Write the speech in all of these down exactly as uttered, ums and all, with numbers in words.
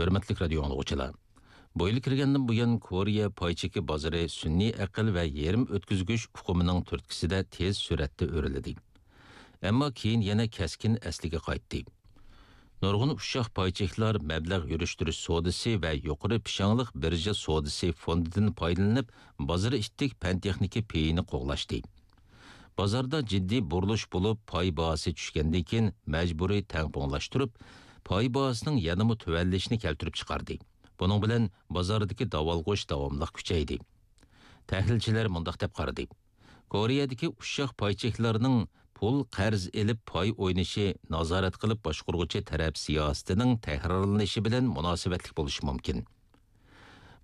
ھۆرمەتلىك رادىيو ئاڭلىغۇچىلار! بۇ يىل كىرگەندىن بۇيان، كورېيە پاي چېكى بازىرى سۈنئىي ئەقىل ۋە يېرىم ئۆتكۈزگۈچ ئۇقۇمىنىڭ تۈرتكىسىدە تېز سۈرئەتتە ئۆرلىدى. ئەمما كېيىن يەنە كەسكىن ئەسلىگە قايتتى. نۇرغۇن ئۇششاق پاي چېكلار مەبلەغ يۈرۈشتۈرۈش سودىسى ۋە يۇقىرى پىشاڭلىق بىرژا سودىسى فوندىدىن پايدىلىنىپ، بازار ئىتتىك پەن-تېخنىكا پېيىنى قوغلاشتى. بازاردا جىددىي بۇرۇلۇش بولۇپ، پاي باھاسى چۈشكەندىن كېيىن مەجبۇرىي تەڭپۇڭلاشتۇرۇپ، پاي باھاسىنىڭ يەنىمۇ تۆۋەنلىشىنى كەلتۈرۈپ چىقاردى. بۇنىڭ بىلەن بازاردىكى داۋالغۇش داۋاملىق كۈچەيدى. تەھلىلچىلەر مۇنداق دەپ قارىدى: كورېيەدىكى ئۇششاق پاي چېكلارنىڭ پۇل قەرز ئېلىپ پاي ئوينىشى نازارەت قىلىپ باشقۇرغۇچى تەرەپ سىياسىتىنىڭ تەكرارلىنىشى بىلەن مۇناسىۋەتلىك بولۇشى مۇمكىن.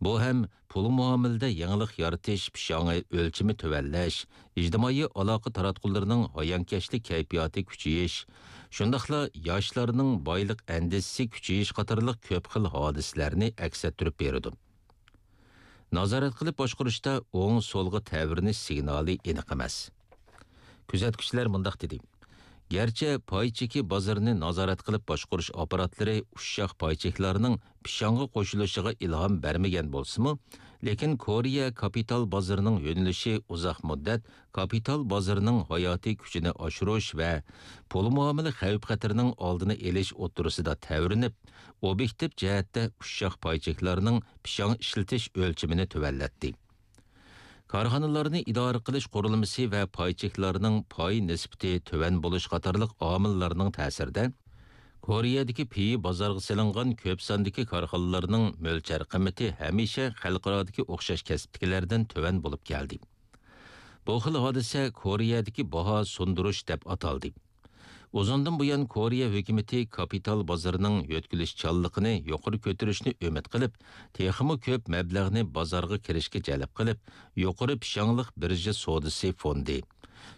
بۇ ھەم پۇل مۇئامىلىدە يېڭىلىق يارىتىش، پىشاڭى ئۆلچىمى تۆۋەنلەش، ئىجتىمائىي ئالاقە تاراتقۇلىرىنىڭ ھايانكەشلىك كەيپىياتى كۈچىيىش، شۇنداقلا ياشلارنىڭ بايلىق ئەندىزىسى كۈچىيىش قاتارلىق كۆپ خىل ھادىسىلەرنى ئەكس ئەتتۈرۈپ بېرىدۇ. نازارەت قىلىپ باشقۇرۇشتا ئوڭ سولغا تەۋرىنىش سىگنالى ئېنىق ئەمەس. كۆزەتكۈچىلەر مۇنداق دېدى: گەرچە پاي چېكى بازىرىنى نازارەت قىلىپ باشقۇرۇش ئاپپاراتلىرى ئۇششاق پاي چېكلارنىڭ پىشاڭغا قوشۇلۇشىغا ئىلھام بەرمىگەن بولسىمۇ، لېكىن كورېيە كاپىتال بازىرىنىڭ يۆنىلىشى ئۇزاق مۇددەت كاپىتال بازىرىنىڭ ھاياتىي كۈچىنى ئاشۇرۇش ۋە پۇل مۇئامىلە خەۋپ-خەتىرىنىڭ ئالدىنى ئېلىش ئوتتۇرىسىدا تەۋرىنىپ، ئوبيېكتىپ جەھەتتە ئۇششاق پاي چېكلارنىڭ پىشاڭ ئىشلىتىش ئۆلچىمىنى تۆۋەنلەتتى. كارخانىلارنى ئىدارە قىلىش قۇرۇلمىسى ۋە پاي چېكلارنىڭ پاي نىسبىتى تۆۋەن بولۇش قاتارلىق ئامىللارنىڭ تەسىرىدە، كورېيەدىكى پېيى بازارغا سېلىنغان كۆپ ساندىكى كارخانىلارنىڭ مۆلچەر قىممىتى ھەمىشە خەلقئارادىكى ئوخشاش كەسىپتىكىلەردىن تۆۋەن بولۇپ كەلدى. بۇ خىل ھادىسە كورېيەدىكى باھا سۇندۇرۇش دەپ ئاتالدى. ئۇزۇندىن بۇيان كورېيە ھۆكۈمىتى كاپىتال بازىرىنىڭ يۆتكىلىشچانلىقىنى يۇقىرى كۆتۈرۈشنى ئۈمىد قىلىپ، تېخىمۇ كۆپ مەبلەغنى بازارغا كىرىشكە جەلپ قىلىپ، يۇقىرى پىشاڭلىق بىرژا سودىسى فوندى،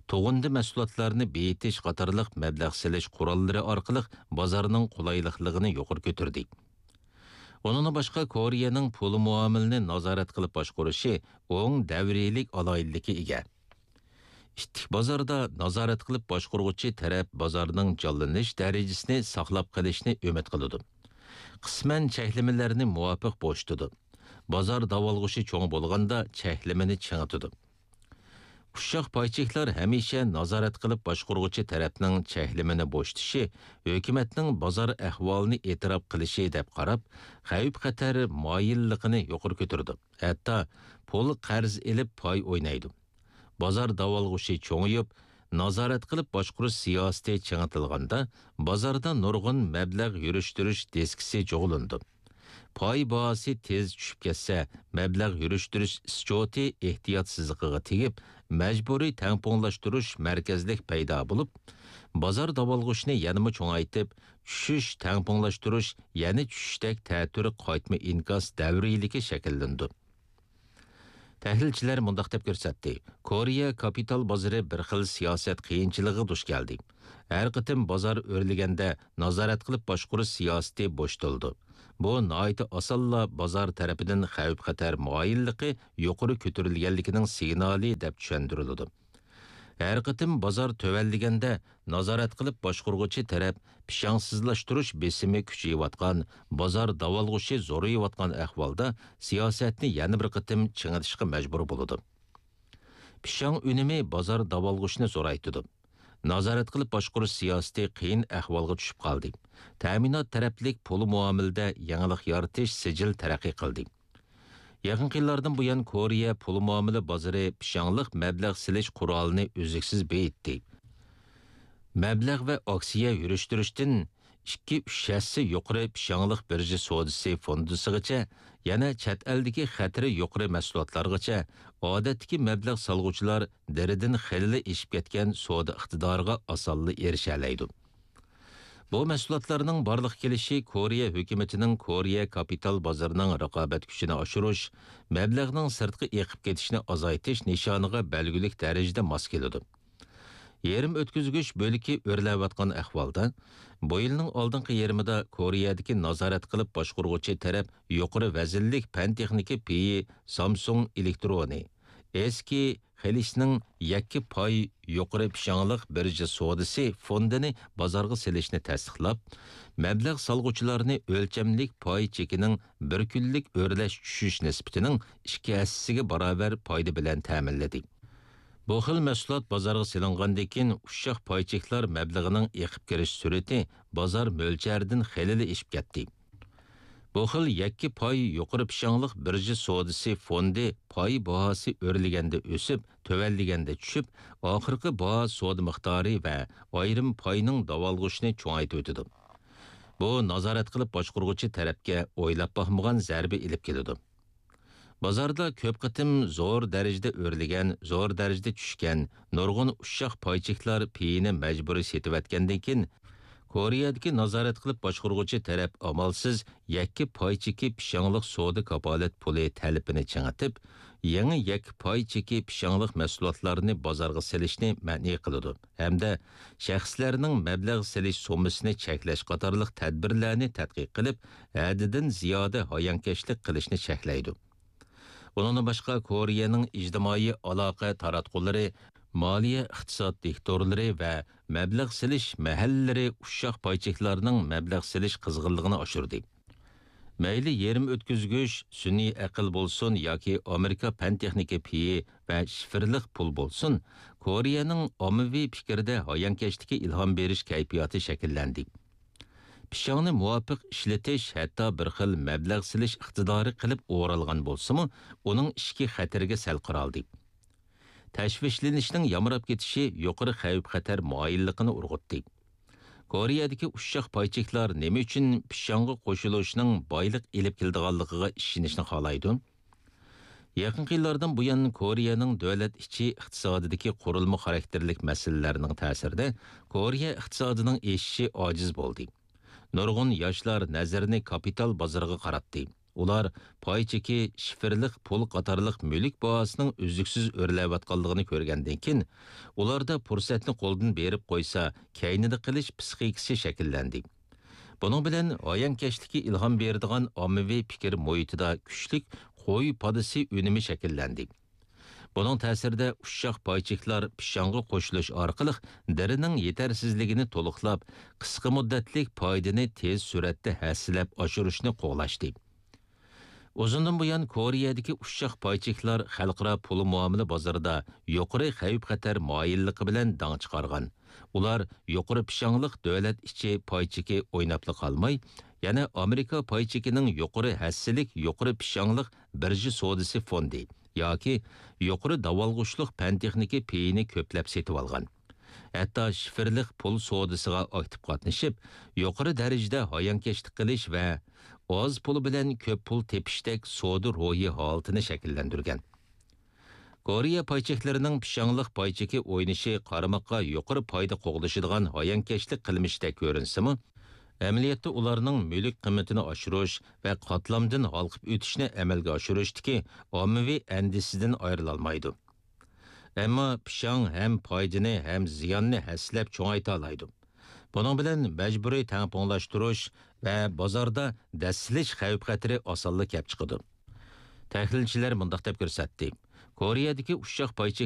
تۇغۇندى مەھسۇلاتلارنى بېيىتىش قاتارلىق مەبلەغ سېلىش قوراللىرى ئارقىلىق بازارنىڭ قولايلىقلىقىنى يۇقىرى كۆتۈردى. ئۇنىڭدىن باشقا، كورېيەنىڭ پۇل مۇئامىلىنى نازارەت قىلىپ باشقۇرۇشى ئوڭ دەۋرىيلىك ئالاھىدىلىككە ئىگە. ئىتتىك بازاردا نازارەت قىلىپ باشقۇرغۇچى تەرەپ بازارنىڭ جانلىنىش دەرىجىسىنى ساقلاپ قېلىشنى ئۈمىد قىلىدۇ. قىسمەن چەكلىمىلەرنى مۇۋاپىق بوشىتىدۇ. بازار داۋالغۇشى چوڭ بولغاندا چەكلىمىنى چىڭىتىدۇ. ئۇششاق پاي چېكلار ھەمىشە نازارەت قىلىپ باشقۇرغۇچى تەرەپنىڭ چەكلىمىنى بوشىتىشى ھۆكۈمەتنىڭ بازار ئەھۋالىنى ئېتىراپ قىلىشى دەپ قاراپ، خەۋپ-خەتەر مايىللىقىنى يۇقىرى كۆتۈرىدۇ. ھەتتا پۇل قەرز ئېلىپ پاي ئوينايدۇ. بازار داۋالغۇشى چوڭىيىپ، نازارەت قىلىپ باشقۇرۇش سىياسىتى چىڭىتىلغاندا، بازاردا نۇرغۇن مەبلەغ يۈرۈشتۈرۈش دىسكىسى جۇغلىنىدۇ. پاي باھاسى تېز چۈشۈپ كەتسە، مەبلەغ يۈرۈشتۈرۈش ئىسچوتى ئېھتىياتسىزلىقىغا تېگىپ، مەجبۇرىي تەڭپۇڭلاشتۇرۇش مەركەزلىك پەيدا بولۇپ، بازار داۋالغۇشىنى يەنىمۇ چوڭايتىپ، چۈشۈش، تەڭپۇڭلاشتۇرۇش، يەنە چۈشۈشتەك تەتۈر قايتما ئىنكاس دەۋرىيلىكى شەكىللىنىدۇ. تەھلىلچىلەر مۇنداق دەپ كۆرسەتتى: كورېيە كاپىتال بازىرى بىر خىل سىياسەت قىيىنچىلىقىغا دۇچ كەلدى. ھەر قېتىم بازار ئۆرلىگەندە، نازارەت قىلىپ باشقۇرۇش سىياسىتى بوشىتىلىدۇ. بۇ ناھايىتى ئاسانلا بازار تەرىپىدىن خەۋپ-خەتەر مايىللىقى يۇقىرى كۆتۈرۈلگەنلىكىنىڭ سىگنالى دەپ چۈشەندۈرۈلىدۇ. ھەر قېتىم بازار تۆۋەنلىگەندە، نازارەت قىلىپ باشقۇرغۇچى تەرەپ پىشاڭسىزلاشتۇرۇش بېسىمى كۈچىيىۋاتقان، بازار داۋالغۇشى زورىيىۋاتقان ئەھۋالدا سىياسەتنى يەنە بىر قېتىم چىڭىتىشقا مەجبۇر بولىدۇ. پىشاڭ ئۈنۈمى بازار داۋالغۇشىنى زورايتىدۇ. نازارەت قىلىپ باشقۇرۇش سىياسىتى قىيىن ئەھۋالغا چۈشۈپ قالدى. تەمىنات تەرەپلىك پۇل مۇئامىلىدە يېڭىلىق يارىتىش سىجىل تەرەققىي قىلدى. يېقىنقى يىللاردىن بۇيان كورېيە پۇل مۇئامىلە بازىرى پىشاڭلىق مەبلەغ سېلىش قورالىنى ئۈزلۈكسىز بېيىتتى. مەبلەغ ۋە ئاكسىيە يۈرۈشتۈرۈشتىن ئىككى، ئۈچ ھەسسە يۇقىرى پىشاڭلىق بىرژا سودىسى فوندىسىغىچە، يەنە چەت ئەلدىكى خەتىرى يۇقىرى مەھسۇلاتلارغىچە، ئادەتتىكى مەبلەغ سالغۇچىلار دېرىدىن خېلىلا ئېشىپ كەتكەن سودا ئىقتىدارىغا ئاسانلا ئېرىشەلەيدۇ. بۇ مەھسۇلاتلارنىڭ بارلىققا كېلىشى كورېيە ھۆكۈمىتىنىڭ كورېيە كاپىتال بازىرىنىڭ رىقابەت كۈچىنى ئاشۇرۇش، مەبلەغنىڭ سىرتقا ئېقىپ كېتىشىنى ئازايتىش نىشانىغا بەلگىلىك دەرىجىدە ماس كېلىدۇ. يېرىم ئۆتكۈزگۈچ بۆلىكى ئۆرلەۋاتقان ئەھۋالدا، بۇ يىلنىڭ ئالدىنقى يېرىمىدا كورېيەدىكى نازارەت قىلىپ باشقۇرغۇچى تەرەپ يۇقىرى ۋەزىنلىك پەن-تېخنىكا پېيى سامسۇڭ ئېلېكترونى، ئېسكى خېلىشنىڭ يەككە پاي يۇقىرى پىشاڭلىق بىرژە سودىسى فوندىنى بازارغا سېلىشنى تەستىقلاپ، مەبلەغ سالغۇچىلارنى ئۆلچەملىك پاي چېكىنىڭ بىر كۈنلۈك ئۆرلەش چۈشۈش نىسبىتىنىڭ ئىككى ھەسسىسىگە باراۋەر پايدا بىلەن تەمىنلىدى. بۇ خىل مەھسۇلات بازارغا سېلىنغاندىن كېيىن، ئۇششاق پاي چېكلار مەبلىغىنىڭ ئېقىپ كىرىش سۈرئىتى بازار مۆلچەردىن خېلىلا ئېشىپ كەتتى. بۇ خىل يەككە پاي يۇقىرى پىشاڭلىق بىرژە سودىسى فوندى پاي باھاسى ئۆرلىگەندە ئۆسۈپ، تۆۋەنلىگەندە چۈشۈپ، ئاخىرقى باھا سودا مىقدارى ۋە ئايرىم پاينىڭ داۋالغۇشىنى چوڭايتىۋېتىدۇ. بۇ نازارەت قىلىپ باشقۇرغۇچى تەرەپكە ئويلاپ باقمىغان زەربە ئېلىپ كېلىدۇ. بازاردا كۆپ قېتىم زور دەرىجىدە ئۆرلىگەن، زور دەرىجىدە چۈشكەن، نۇرغۇن ئۇششاق پاي چېكلار پېيىنى مەجبۇرىي سېتىۋەتكەندىن كېيىن، كورېيەدىكى نازارەت قىلىپ باشقۇرغۇچى تەرەپ ئامالسىز يەككە پاي چېكى پىشاڭلىق سودا كاپالەت پۇلى تەلىپىنى چىڭىتىپ، يېڭى يەككە پاي چېكى پىشاڭلىق مەھسۇلاتلارنى بازارغا سېلىشنى مەنئى قىلىدۇ ھەمدە شەخسلەرنىڭ مەبلەغ سېلىش سوممىسىنى چەكلەش قاتارلىق تەدبىرلەرنى تەتقىق قىلىپ، ھەددىدىن زىيادە ھايانكەشلىك قىلىشنى چەكلەيدۇ. ئۇنىڭدىن باشقا، كورېيەنىڭ ئىجتىمائىي ئالاقە تاراتقۇلىرى، مالىيە ئىقتىساد دىكتورلىرى ۋە مەبلەغ سېلىش مەھەللىلىرى ئۇششاق پاي چېكلارنىڭ مەبلەغ سېلىش قىزغىنلىقىنى ئاشۇردى. مەيلى يېرىم ئۆتكۈزگۈچ، سۈنئىي ئەقىل بولسۇن ياكى ئامېرىكا پەن تېخنىكا پېيى ۋە شىفىرلىق پۇل بولسۇن، كورېيەنىڭ ئاممىۋى پىكرىدە ھايانكەشلىككە ئىلھام بېرىش كەيپىياتى شەكىللەندى. پىشاڭنى مۇۋاپىق ئىشلىتىش ھەتتا بىر خىل مەبلەغ سېلىش ئىقتىدارى قىلىپ ئورالغان بولسىمۇ، ئۇنىڭ ئىچكى خەتىرىگە سەل قارالدى. تەشۋىشلىنىشنىڭ يامراپ كېتىشى يۇقىرى خەۋپ-خەتەر مايىللىقىنى ئۇرغۇتتى. كورېيەدىكى ئۇششاق پاي چېكلار نېمە ئۈچۈن پىشاڭغا قوشۇلۇشنىڭ بايلىق ئېلىپ كېلىدىغانلىقىغا ئىشىنىشنى خالايدۇ؟ يېقىنقى يىللاردىن بۇيان، كورېيەنىڭ دۆلەت ئىچى ئىقتىسادىدىكى قۇرۇلما خاراكتېرلىك مەسىلىلەرنىڭ تەسىرىدە، كورېيە ئىقتىسادىنىڭ ئېشىشى ئاجىز بولدى. نۇرغۇن ياشلار نەزىرىنى كاپىتال بازىرىغا قاراتتى. ئۇلار پاي چېكى، شىفىرلىق پۇل قاتارلىق مۈلۈك باھاسىنىڭ ئۈزلۈكسىز ئۆرلەۋاتقانلىقىنى كۆرگەندىن كېيىن، ئۇلاردا پۇرسەتنى قولدىن بېرىپ قويسا، كەينىدە قېلىش پىسخىكىسى شەكىللەندى. بۇنىڭ بىلەن ھايانكەشلىككە ئىلھام بېرىدىغان ئاممىۋى پىكىر مۇھىتىدا كۈچلۈك قوي پادىسى ئۈنۈمى شەكىللەندى. بۇنىڭ تەسىرىدە ئۇششاق پاي چېكلار پىشاڭغا قوشۇلۇش ئارقىلىق دېرىنىڭ يېتەرسىزلىكىنى تولۇقلاپ، قىسقا مۇددەتلىك پايدىنى تېز سۈرئەتتە ھەسسىلەپ ئاشۇرۇشنى قوغلاشتى. ئۇزۇندىن بۇيان كورېيەدىكى ئۇششاق پاي چېكلار خەلقئارا پۇل مۇئامىلە بازىرىدا يۇقىرى خەۋپ-خەتەر مايىللىقى بىلەن داڭ چىقارغان. ئۇلار يۇقىرى پىشاڭلىق دۆلەت ئىچى پاي چېكى ئويناپلا قالماي، يەنە ئامېرىكا پاي چېكىنىڭ يۇقىرى ھەسسىلىك يۇقىرى پىشاڭلىق بىرژا سودىسى فوندى ياكى يۇقىرى داۋالغۇشلۇق پەن-تېخنىكا پېيىنى كۆپلەپ سېتىۋالغان. ھەتتا شىفىرلىق پۇل سودىسىغا ئاكتىپ قاتنىشىپ، يۇقىرى دەرىجىدە ھايانكەشلىك قىلىش ۋە ئاز پۇل بىلەن كۆپ پۇل تېپىشتەك سودا روھى ھالىتىنى شەكىللەندۈرگەن. كورېيە پاي چېكلىرىنىڭ پىشاڭلىق پاي چېكى ئوينىشى قارىماققا يۇقىرى پايدا قوغلىشىدىغان ھايانكەشلىك قىلمىشىدەك كۆرۈنسىمۇ، ئەمەلىيەتتە ئۇلارنىڭ مۈلۈك قىممىتىنى ئاشۇرۇش ۋە قاتلامدىن ھالقىپ ئۆتۈشنى ئەمەلگە ئاشۇرۇشتىكى ئاممىۋى ئەندىزىسىدىن ئايرىلالمايدۇ. ئەمما پىشاڭ ھەم پايدىنى، ھەم زىياننى ھەسسىلەپ چوڭايتالايدۇ. بۇنىڭ بىلەن مەجبۇرىي تەڭپۇڭلاشتۇرۇش ۋە بازاردا دەسسىلىش خەۋپ-خەتىرى ئاسانلا كەپ چىقىدۇ. تەھلىلچىلەر مۇنداق دەپ كۆرسەتتى: كورېيەدىكى ئۇششاق پاي چېكلىرى